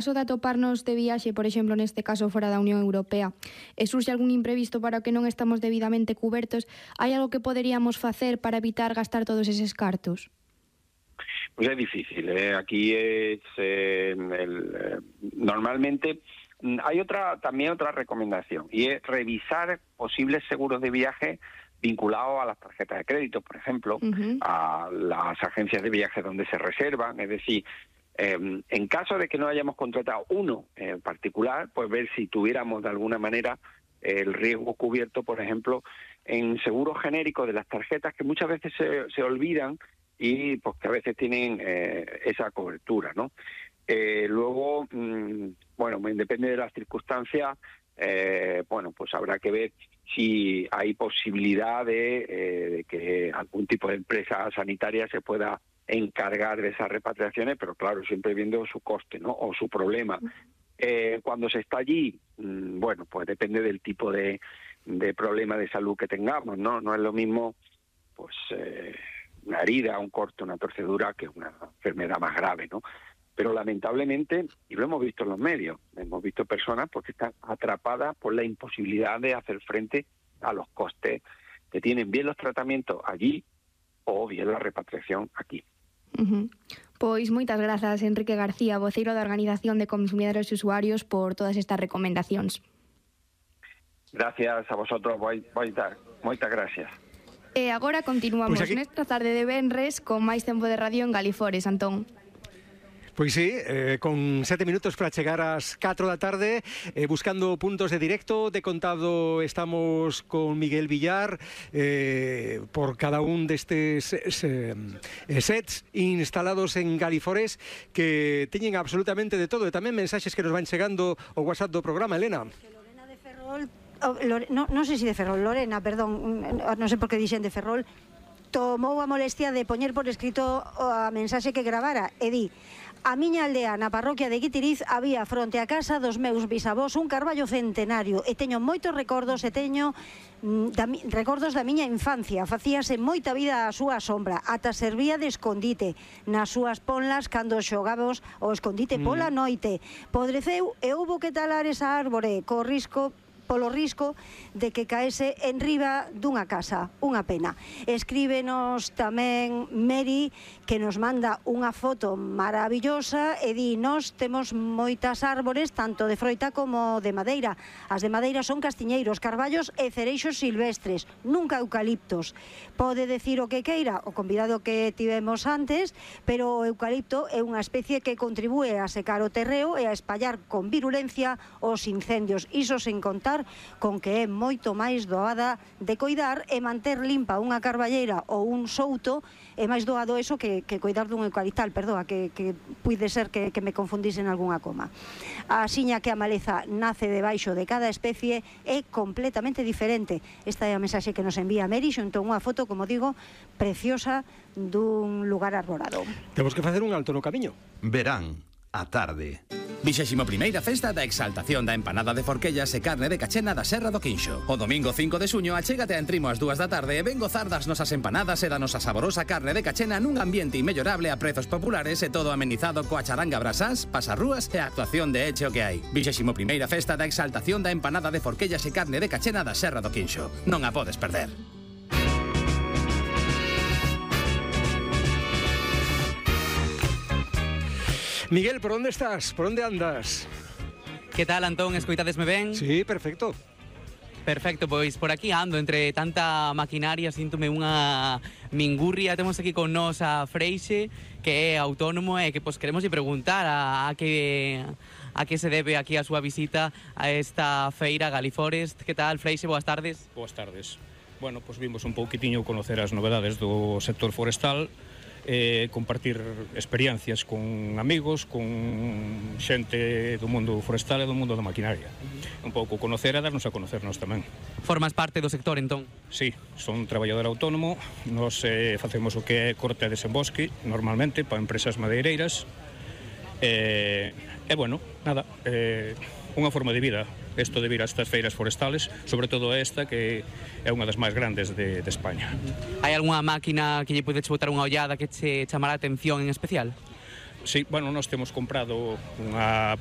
caso de atoparnos de viaxe, por exemplo, neste caso fora da Unión Europea, e surxe algún imprevisto para o que non estamos debidamente cubertos, hai algo que poderíamos facer para evitar gastar todos eses cartos? Pues es difícil, aquí es normalmente hay también otra recomendación, y es revisar posibles seguros de viaje vinculados a las tarjetas de crédito, por ejemplo, a las agencias de viaje donde se reservan, es decir, en caso de que no hayamos contratado uno en particular, pues ver si tuviéramos de alguna manera el riesgo cubierto, por ejemplo, en seguros genéricos de las tarjetas que muchas veces se olvidan y pues que a veces tienen esa cobertura, ¿no? Luego, bueno, depende de las circunstancias, bueno, pues habrá que ver si hay posibilidad de que algún tipo de empresa sanitaria se pueda encargar de esas repatriaciones, pero claro, siempre viendo su coste, ¿no? O su problema. Cuando se está allí, bueno, pues depende del tipo de problema de salud que tengamos, ¿no? No es lo mismo, pues, una herida, un corte, una torcedura, que una enfermedad más grave, ¿no? Pero lamentablemente, y lo hemos visto en los medios, hemos visto personas porque están atrapadas por la imposibilidad de hacer frente a los costes que tienen bien los tratamientos allí o bien la repatriación aquí. Pois moitas grazas, Enrique García, voceiro da Organización de Consumidores e Usuarios, por todas estas recomendacións. Gracias a vosotros, moitas gracias. E agora continuamos nesta tarde de venres con máis tempo de radio en Galifores, Antón. Pois sí, con 7 minutos para chegar ás 4 da tarde, buscando puntos de directo. De contado estamos con Miguel Villar por cada un destes sets instalados en Galifores, que teñen absolutamente de todo, e tamén mensaxes que nos van chegando ao WhatsApp do programa, Elena. Lorena de Ferrol, non sei se de Ferrol, Lorena, perdón, non sei por que dixen de Ferrol, tomou a molestia de poñer por escrito a mensaxe que gravara e di: a miña aldea na parroquia de Guitiriz había fronte a casa dos meus bisavós un carballo centenario e teño moitos recordos e teño recordos da miña infancia. Facíase moita vida á súa sombra, ata servía de escondite nas súas ponlas cando xogamos o escondite pola noite. Podreceu e houbo que talar esa árbore polo risco de que caese en riba dunha casa. Unha pena. Escríbenos tamén Mary, que nos manda unha foto maravillosa e di: nós temos moitas árbores, tanto de froita como de madeira. As de madeira son castiñeiros, carballos e cereixos silvestres, nunca eucaliptos. Pode decir o que queira o convidado que tivemos antes, pero o eucalipto é unha especie que contribúe a secar o terreo e a espallar con virulencia os incendios. Iso sen contar con que é moito máis doada de coidar e manter limpa unha carballeira ou un souto é máis doado eso que coidar dun eucaliptal, perdoa, que puide ser que me confundise en algunha coma. A xiña que a maleza nace debaixo de cada especie é completamente diferente. Esta é a mensaxe que nos envía Mary xunto unha foto, como digo, preciosa dun lugar arborado. Temos que facer un alto no camiño. Verán, a tarde. 21ª Festa da Exaltación da Empanada de Forquellas e Carne de Cachena da Serra do Quinxo. O domingo 5 de xuño achégate a Entrimo ás 2 da tarde e ven gozar das nosas empanadas e da nosa saborosa carne de cachena nun ambiente inmellorable a prezos populares e todo amenizado coa charanga brasás, pasarrúas e a actuación de Eche o que hai. 21ª Festa da Exaltación da Empanada de Forquellas e Carne de Cachena da Serra do Quinxo. Non a podes perder. Miguel, por onde estás? Por onde andas? Que tal, Antón? Escoitadesme ben? Sí, perfecto. Perfecto, pois por aquí ando entre tanta maquinaria, síntome unha mingurria. Temos aquí con nós a Freixe, que é autónomo e que pois queremos preguntar a que se debe aquí a súa visita a esta feira Galiforest. Que tal, Freixe? Boas tardes. Boas tardes. Bueno, pois vimos un pouquitinho conocer as novedades do sector forestal, compartir experiencias con amigos, con xente do mundo forestal e do mundo da maquinaria. Un pouco conocer e darnos a conocernos tamén. Formas parte do sector, entón? Sí, son traballador autónomo, nos facemos o que é corte e desembosque, normalmente, para empresas madeireiras, e bueno, nada, unha forma de vida, isto de vir a estas feiras forestales, sobre todo esta, que é unha das máis grandes de España. Hai algunha máquina que lle podedes botar unha ollada que che chamará a atención en especial? Sí, bueno, nós temos comprado unha